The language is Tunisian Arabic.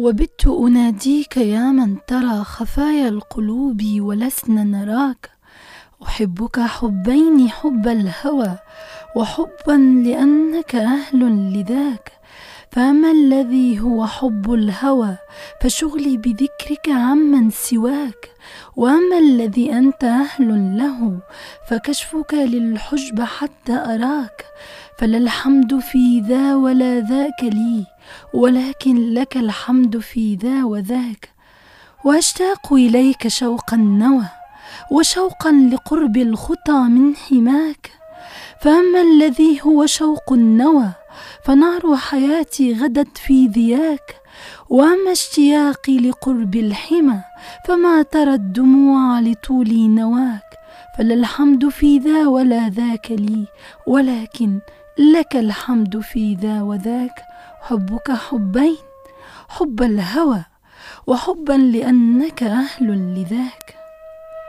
وبت أناديك يا من ترى خفايا القلوب ولسنا نراك. أحبك حبين، حب الهوى وحبا لأنك أهل لذاك. فأما الذي هو حب الهوى فشغلي بذكرك عمن سواك، وأما الذي أنت أهل له فكشفك للحجب حتى أراك. فلا الحمد في ذا ولا ذاك لي، ولكن لك الحمد في ذا وذاك. وأشتاق إليك شوق النوى وشوقا لقرب الخطى من حماك. فأما الذي هو شوق النوى فنار حياتي غدت في ذياك، وأما اشتياقي لقرب الحمى فما ترى الدموع لطول نواك. فلا الحمد في ذا ولا ذاك لي، ولكن لك الحمد في ذا وذاك. حبك حبين، حب الهوى وحبا لأنك أهل لذاك.